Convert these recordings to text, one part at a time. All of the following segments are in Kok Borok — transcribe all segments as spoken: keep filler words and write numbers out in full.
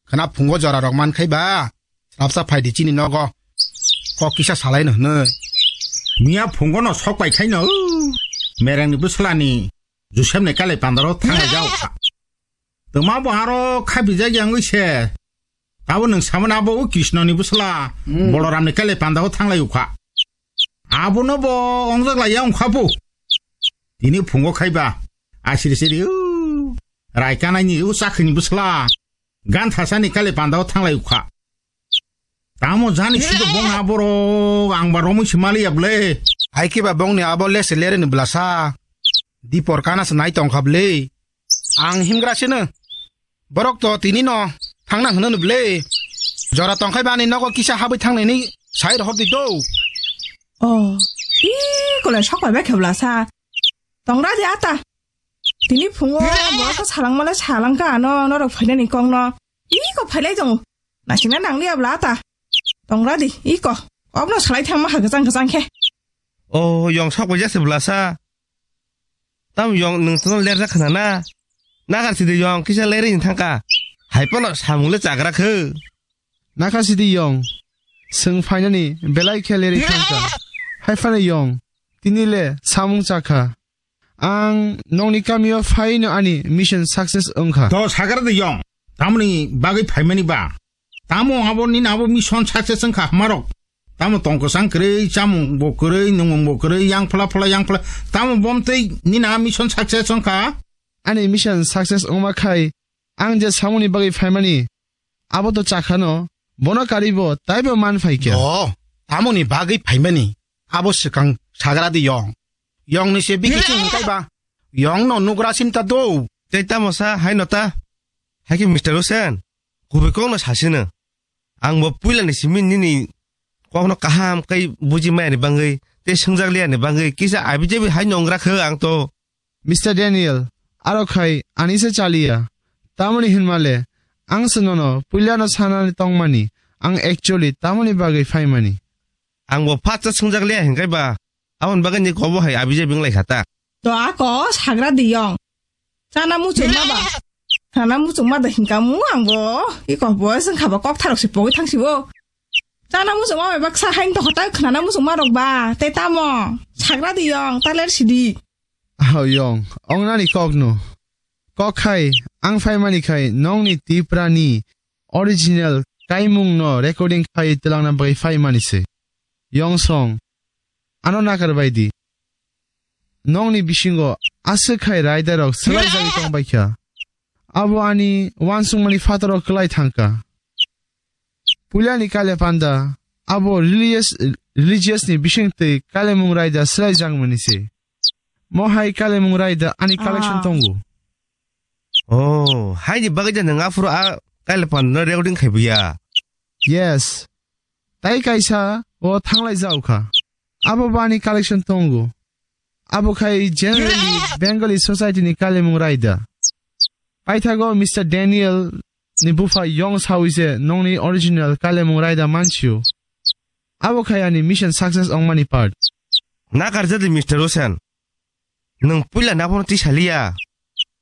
Khna phungo jora rok man khai ba. Rapsa phai di chini nogo. Kok kisa salai no hwnwi. Miya phungo no sok pai khai no. Mereng ni bwsla ni. Joseph ni kale pandaro thanglai jao kha. Tuma bo aro kha bijak yang wi se. Abo nwng samani abo o Krishna ni bwsla. Hmm. Boloram ni kale pandao thanglai ukha. Abono bo ongjak lai ya ongkha bo. Tini phungo khai ba. Asiri siri u. Rai kanai ni u chakhi ni bwsla. Gan thasa ni kale pandao thanglai ukha. Tamo jani sido bong aboro ang ba romwi se mali ya ble. Hai ke ba bong ni abo lese lere ni blasa. Dipor kana se nai tong kha ble. Ang himgra sino. Borok to tini no thangna hwnwi no ble. Jora tong khai bani nogo kisa habwi thangnani sai rohor di do. Oh, i kole sok bai khe blasa. Tongra di ata. Tini phungo borok to salangmale salangka ano norok phainani kongno. Iko phailai tongo. Nasina nangli abla ata. Tongra di, iko. Obno salai thangma ha gajang gajang khe. Oh, yong sok bai jase blasa. Tam yong nwng tono lerjak khna na. Nakar sidi yong kisa leri ni thangka. Hai pono samung le chagra khe. Nakar sidi yong. Swng phainani belai khe leri thangka. Hai phano yong. Tini le samung chakha. Ang nokni kamio phaino ani mission success wngkha. To sagra de yong. Tamoni bagwi phaimani ba. Tamo abo nini abo mission success wngkha hamarok. Tamo tongkosang kwrwi, chamung bo kwrwi, nungmung bo kwrwi, yang phla phla, yang phla. Tamo bomtwi nini a mission success wngkha. Ani mission success wngma khai ang je samungni bagwi phaimani, abo to chakhano, bono karibo taibo man phaikha. O, tamoni bagwi phaimani, abo swkang sagra di yong. Yong ni se bikisi hingkai ba, yong no nugra sinta do. Tei tamo sa hai no ta? Hai khe Mister Hussein, kubui kok no sasino. Ang bo puila ni simi nini kok no kaham kai buji maya ni bangwi, tei swngjak liya ni bangwi, kisa abi jabi hai no wnggra kho ang to. Mister Daniel, aro khai ani se chaliya. Tamoni hinmale, ang se nono puila no sanani tongmani, ang actually tamoni bagwi phaimani. Ang bo phatsa swngjak liya hinkai ba, aboni bagwi ni kobo hai abi jabi wng lai kha ta. To ako sagra di yong. Chana muchung ma ba. Chana muchung ma da hinka mu ang bo. Iko bo seng khaba kok tharok se pogwi thang si bo. Chana muchung ma ba baksa hain to hotai khnana muchung ma rok ba. Te tamo. Sagra di yong, taler sidi. Aho yong, ong nani kok no. Kok khai, ang phai mani khai, nong ni Tipra ni original kaimung no recording khai twlangna bagwi phai mani se. Yong song, ano nakar bai di. Nokni bisingo aswk khai raidarok swlai jagwi tong bai kha. Abo ani uansukmani phataro kwlai thang kha. Puilani kale panda abo religious, religious ni bisingtwi kalemung raida swlai jakmani se. Mo hai kalemung raida ani collection Ah. tongo. Oh, haini bagwi da nwng aphuru a kale panda no recording khai buya? Yes. Tai kaisa o thanglai jao kha. Abo bani collection tongo. Abo khai generally Bengali society ni kalemung raida. Paithago Mister Daniel ni bupha yong sawi se nongni original kalemung raida mansio. Abo khai ani mission success ongmani part. Nakar jadi Mister Hussein. Nwng puila nabono tisaliya.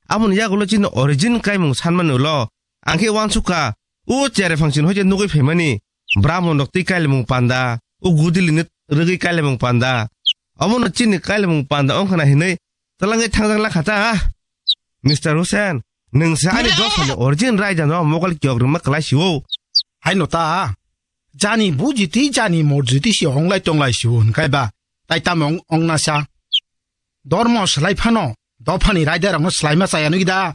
Aboni yagulo chini origin kaimung sanmani ulo. Ang khe uansukha, o chere phangchini hoite nugui phaimani. Brahmon rok twi kailemung panda, o gudili ni rwgwi kailemung panda. Obono chini kailemung panda wngkhana hinwi twlangwi thangjak lakha ta. Mister Hussein, nwng se ani dosani origin raida no mokol kiyok rwma kwlai sio. Haino ta. Jani bujiti, jani morjiti si onglai tonglai sio hinkai ba. Tai tamo ong-, ongna sa. Dormo swlai phano, dophani raida rokno swlaima chaya nwi da.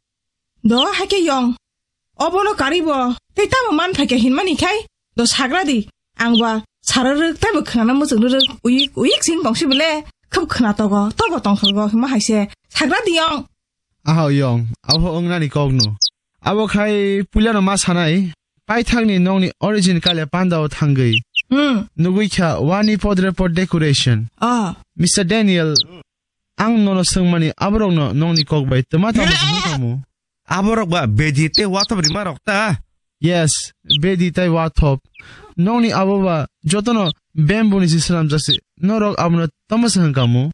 Do haikhe yong. Obono karibo, tei tamo man phaikha hinmani khai, do sagra di, ang ba sara rwk taibo khwnana muchung rwk, uyik, uyik sing tongsi bele, khub khwna togo, togo tongthorgo, hima haise, sagra di yong. Aha yong, abo wngnani kokno. Abo khai puilano ma sanai, paithakni nokni origin kale pandao thangwi. Hmm. Nugui kha wani podre pod decoration. Ah. Mister Daniel, ang nono swngmani aborokno nokni kok bai twma tamo se hwnkamu? Aborok ba bedi tei wathop rima rok ta? Yes, bedi tei wathop. Nokni abo ba jotono bamboo ni se swnamjak se. Norok abono tamo se hwnkamu?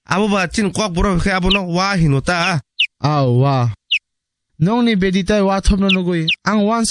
Abo ba chini kok borok khe abono wa hino ta? Aw, wa. Nokni bedi tei wathopno nugui ang uansuk